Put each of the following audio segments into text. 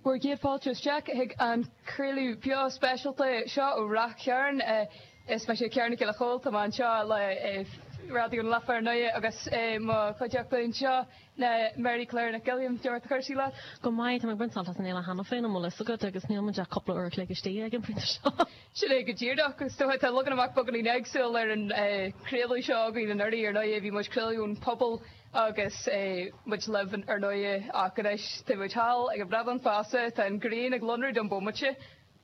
Bhur gcéad fáilte isteach chuig an craoladh beo speisialta seo ó Rath Chairn. Is mise Ciara Nic Giolla Chóill, tá mé anseo le Raidió na Life ar ndóigh agus mo chuideachta anseo ná Mary Claire Nic Uilliam. Cad é mar atá cúrsaí leat? Go maith, tá mé ag baint sult as an fhéile cheana féin, an bhfuil fhios agat, agus níl muid ach cúpla uair a chloig istigh ag an phointe seo. Sin é go díreach. Is dócha tá leagan amach beagáinín éagsúil ar an chraoladh seo againn anuraidh ar ndóigh, bhí muid ag craoladh ón phuball Agus muid libh ar ndóighe, ach anois tá muid thall ag an Bhradán Feasa, tá an ghrian ag lonrú don bhomaite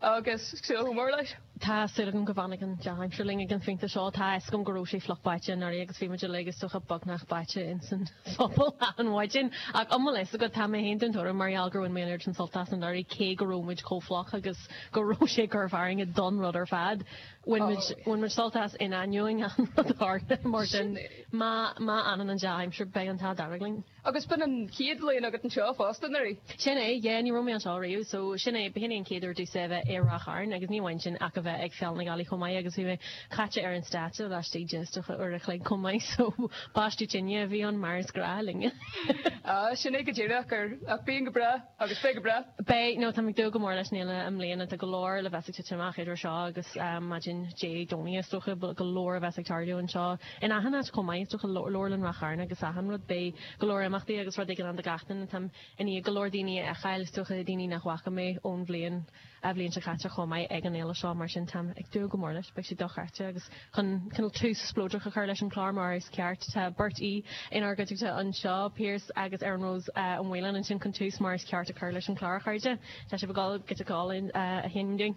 agus súil chomh mór leis. Tá súil agam go bhfanfaidh an dea-aimsir linn ag an phointe seo. Tá a fhios agam go raibh sé fliuch báite anuraidh agus bhí muid uilig is dócha beagnach báite ins an phuball achan mhaidin. Ach an bhfuil fhios agat, tá mé féin den tuairim mar gheall gur bhain mé an oiread sin sult as anuraidh cé go raibh muid chomh fliuch agus go raibh sé ag cur fearthainne don rud ar fad. Bhain muid, bhain muid sult as in ainneoin an rud a tharla, mar sin má, má fhanann an dea-aimsir beidh an t-ádh dearg linn. Agus b'in an chéad bhliain agat anseo fosta, anuraidh? Sin é, yeah, ní raibh mé anseo riamh, so sin é, b'shin é an chéad uair domhsa a bheith i Ráth Chairn agus ní amháin sin ach a bheith ag Féile na Gealaí chomh maith agus bhí mé caite ar an stáitse laistigh de is dócha uair a chloig chomh maith, so baisteadh tine a bhí ann mar is gnáth linne. Ah, sin é go díreach, ar, ach bíonn go breá. Agus beidh go breá. Beidh, nó táim ag dúil go mór leis an fhéile i mbliana. Tá go leor le bheith ag titim amach idir seo agus maidin Dé Domhnaigh is dócha. Go leor a bheas ag tarlú anseo in achan áit chomh maith is dócha, Leabharlann Ráth Chairn agus achan rud. Beidh go leor imeachtaí agus rud éigin ann do gach duine. Táim i ndiaidh go leor daoine a fheiceáil, is dócha, daoine nach bhfaca mé ón bhliain an bhliain seo caite chomh maith ag an fhéile seo, mar sin táim ag dúil go mór leis. Beidh sé dochreidte agus chun cineál tús spleodrach a chur leis an chlár mar is ceart, tá beirt aoi inár gcuideachta anseo, Pearse agus Erin Rose Ó Maoláin ansin chun tús mar is ceart a chur leis an chlár, a chairde. Tá sibh ag dul giota ceoil a sheinm dúinn.